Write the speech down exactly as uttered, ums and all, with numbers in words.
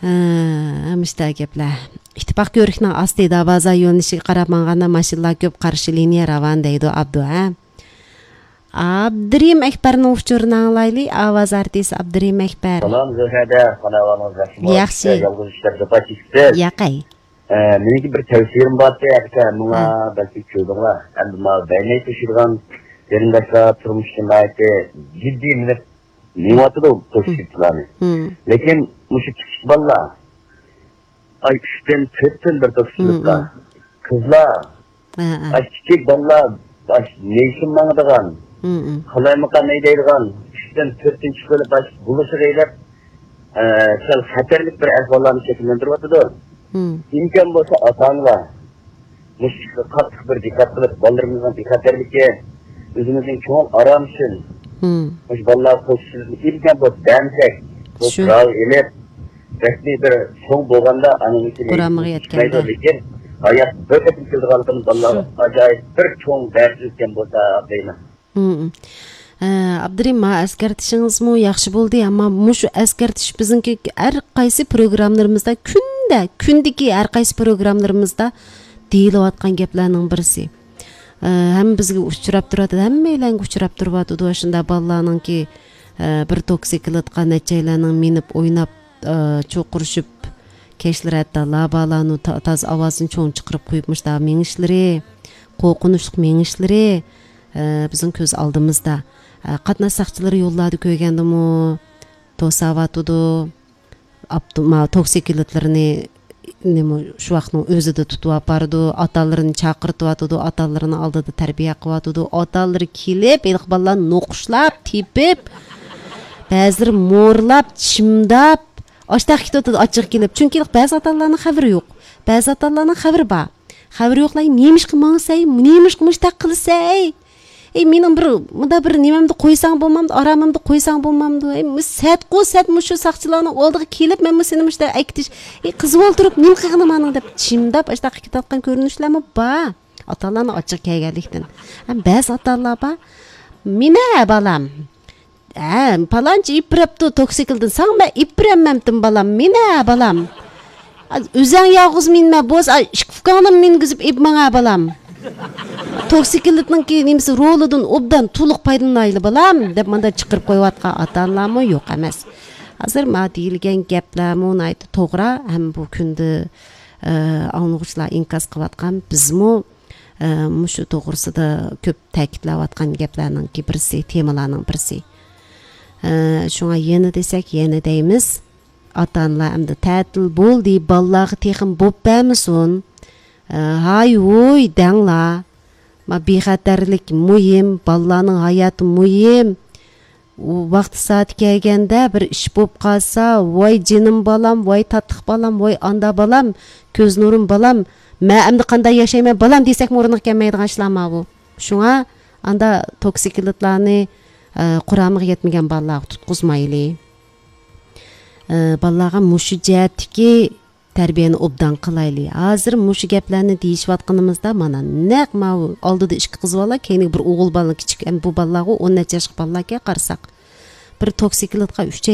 ھە، مۇشۇنداق گەپلەر. ئىتتىپاق كۆۋرۈكنىڭ ئاستى دەرۋازا يۆنىلىشىگە قاراپ ماڭغاندا ماشىنىلار كۆپ، قارشى لىنىيە راۋان دەيدۇ ئابدۇ، ھە؟ ئابدۇرېھىم ئەكبەرنىڭ ئۇچۇرىنى ئاڭلايلى، ئاۋاز ئارتىسى ئابدۇرېھىم ئەكبەر. سالام زۆھرەدە، خاناۋانىڭىز ياخشىمۇ؟ ياخشى. يالغۇز ئىشلار جاپا چېكىپسىز. ياقەي. ئە، مېنىڭكى بىر تەۋسىيەم بار ئىكەن، ماڭا ھە. بەلكى كۆردۈڭلار. ئەمدى ماۋۇ بەرمەي توشىدىغان قېرىنداشلار تۇرمۇشتا ناھايىتى جىددىي مېنى مېڭىۋاتىدۇ، توشۇشۇپتۇلارنى. ھىم. لېكىن مۇشۇ كىچىك بالىلار، ئاي، ئۈچتىن، تۆتتىن بىر توشۇشۇپتا. ھىم، ھىم. قىزلار، ھە، ھە. ئاي، كىچىك بالىلار، ئاي، نېشىن ماڭىدىغان، ھىم، ھىم. قالايمىقان ھەيدەيدىغان، ئۈچتىن، تۆتتىن چىقىپ بولۇپ، ئاي، بولۇشىغا ئېلىپ، ئە، سەل خەتەرلىك بىر ئەھۋاللارنى شەكىللەندۈرۈۋاتىدۇ. ھىم. ئىمكان بولسا ئاتا-ئانىلار مۇشۇ ئىشقا قاتتىق بىر دىققەت قىلىپ، بالىلىرىمىزنىڭ بىخەتەرلىكى، ئۆزىمىزنىڭ كۆڭۈل ئارامى ئۈچۈن ھىم. مۇشۇ بالىلارغا قوشۇشىمىزنى ئىمكان بولسا بەرمىسەك، بۇ شۇ. قورال ئېلىپ، رەسمىي بىر چوڭ بولغاندا ئانىڭكى قۇرامىغا يەتكەندە. لېكىن ھايات بىر قېتىم كېلىدىغانلىقىنى بالىلارغا شۇ. ئاجايىپ بىر چوڭ دەرس ئۆتكەن بولسا دەيمەن. ھىم. ئە، ئابدۇرېھىم، ما ئەسكەرتىشىڭىزمۇ ياخشى بولدى، ئەمما مۇشۇ ئەسكەرتىش بىزنىڭكى ھەر قايسى پروگراممىلىرىمىزدا، كۈندە، كۈندىكى ھەر قايسى پروگراممىلىرىمىزدا دېيىلىۋاتقان گەپلەرنىڭ بىرسى. ئە، ھەممە بىزگە ئۇچراپ تۇراتىدۇ، ھەممەيلەنگە ئۇچراپ تۇرۇۋاتىدۇ. شۇنداق بالىلارنىڭكى، ئە، بىر توكسىكلىتقا نەچچەيلەننىڭ مىنىپ ئويناپ، ئە، چوقۇرۇشۇپ، كەچلىرى ھەتتا لابالانۇ تا-، تازا ئاۋازىنى چوڭ چىقىرىپ قويۇپ مۇشۇنداق مېڭىشلىرى، قورقۇنچلۇق مېڭىشلىرى، ئە، بىزنىڭ كۆز ئالدىمىزدا. ئە، قاتناش ساقچىلىرى يوللاردا كۆرگەندىمۇ توساۋاتىدۇ. ئاپتو-، ما-، توكسىكلىتلىرىنى نېمە، شۇ ۋاقىتنىڭ ئۆزىدە تۇتۇۋاپارىدۇ، ئاتا-ئانىلىرىنى چاقىرتىۋاتىدۇ، ئاتا-ئانىلىرىنىڭ ئالدىدا تەربىيە قىلىۋاتىدۇ. ئاتا-ئانىلىرى كېلىپ، ھېلىقى بالىلارنى نوقۇشلاپ، تېپىپ، بەزىلىرى مورلاپ، چىمداپ، ئاشتاق كېتىۋاتىدۇ، ئاچچىقى كېلىپ. چۈنكى ھېلىقى بەزى ئاتا-ئانىلارنىڭ خەۋىرى يوق. بەزى ئاتا-ئانىلارنىڭ خەۋىرى بار. خەۋىرى يوقلار، نېمىشقا ماڭىسەي، نېمىشقا مۇشتاق قىلىسەي؟ ئەي، مېنىڭ بىر، مۇندا بىر نېمەمدە قويساڭ بولمامدۇ، ئارامىمدا قويساڭ بولمامدۇ؟ ئەي، مۇ-، سەتقۇ سەت مۇشۇ ساقچىلارنىڭ ئالدىغا كېلىپ، مەن مۇ سېنى مۇشتا ئەكېتىش. ئەي، قىزىۋالتۇرۇپ نېمە قىلغىنىم ئانىڭ دەپ چىمداپ، ئاشتاق كېتىۋاتقان كۆرۈنۈشلەرمۇ بار. ئاتا-ئانىلارنىڭ ئاچچىقى كەلگەنلىكتىن. ھەم بەزى ئاتا-ئانىلار بار. مېنە بالام. ھە، پالانچى ئېلىپ بېرەپتۇ توكسىكلدىن. ساڭا مەن ئېلىپ بېرەلمەمتىم بالام. مېنە بالام. ئۆزەڭ يالغۇز مىنمە، بولسا ئىككى ئۇكاڭنى مىنگۈزۈپ ئېلىپ ماڭا بالام. توكسىكلىتنىڭكى نېمىسى رولىدىن ئوبدان تولۇق پايدىلىنايلى بالام، دەپ ماندا چىقىرىپ قويۇۋاتقان ئاتا-ئانىلارمۇ يوق ئەمەس. ھازىر ما دېيىلگەن گەپلەرمۇ ناھايىتى توغرا، ھەم بۇ كۈندە، ئە، ئاڭلىغۇچىلار ئىنكاس قىلىۋاتقان، بىزمۇ، ئە، مۇشۇ توغرىسىدا كۆپ تەكىتلەۋاتقان گەپلەرنىڭكى بىرسى، تېمىلارنىڭ بىرسى. ئە، شۇڭا يەنە دېسەك، يەنە دەيمىز. ئاتا-ئانىلار ئەمدى تەتىل بولدى، بالىلارغا تېخىمۇ بوپ بەرمىسۇن. ئە، ھاي ھۇي دەڭلار. ما بىخەتەرلىك مۇھىم، بالىلارنىڭ ھاياتى مۇھىم. ئۇ ۋاقتى سائىتى كەلگەندە بىر ئىش بوپ قالسا، ۋاي جېنىم بالام، ۋاي تاتلىق بالام، ۋاي ئاندا بالام، كۆز نۇرۇم بالام، مەن ئەمدى قانداق ياشايمەن بالام دېسەكمۇ ئورنىغا كەلمەيدىغان ئىشلار ماۋۇ. شۇڭا ئاندا توكسىكلىتلارنى، ئە، قۇرامىغا يەتمىگەن بالىلارغا تۇتقۇزمايلى. ئە، بالىلارغا مۇشۇ جەھەتتىكى تەربىيەنى ئوبدان قىلايلى. ھازىر مۇشۇ گەپلەرنى دېيىشىۋاتقىنىمىزدا، مانا، نەق ماۋۇ ئالدىدا ئىككى قىز بالا، كەينىگە بىر ئوغۇل بالا، كىچىك، ئەمدى بۇ بالىلارغۇ ئون نەچچە ياشلىق بالىلاركەن قارىساق. بىر توكسىكلىتقا ئۈچەي